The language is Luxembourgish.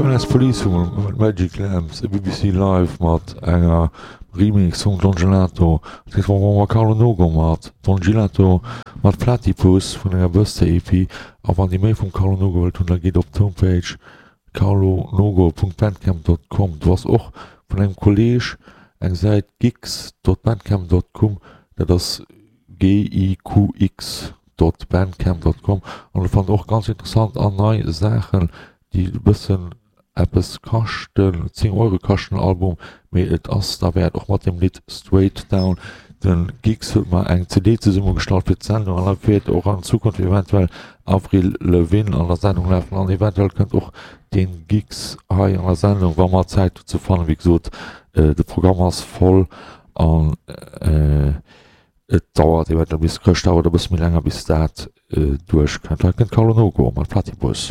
Paradise Police vu Magic Lamps, e BBC Live mat enger Remix vum Don Gelato. Als nächst mam Carlo Nogo mat Don Gelato mat Platypus vun enger Birthday EP. A wann dir méi vum Carlo Nogo wëllt hunn, da gitt op d'Homepage carlonogo.bandcamp.com. Do ass och vun engem Kolleg eng Säit gigs.bandcamp.com, dat ass giqx dot bandcamp dot com an do fannt der och ganz interessant an nei Saachen déi e bëssen eppes kaschten, 10 Euro kascht den Album, mee et ass derwäert, och mat dem Lidd Straight Down. Den Gix huet mer eng CD zesummegestallt fir d'Sendung an da wäert och an Zukunft eventuell Avril Lavigne an der Sendung lafen an eventuell kënnt och den Gix hei an der Sendung, wa mer Zäit dozou fannen. Wéi gesot, de Programm ass voll an Et dauert eventuell bis Chrëschtdag oder e bësse méi länger bis dat duerch kënnt. Hei kënnt Carlo Nogo mat Platypus.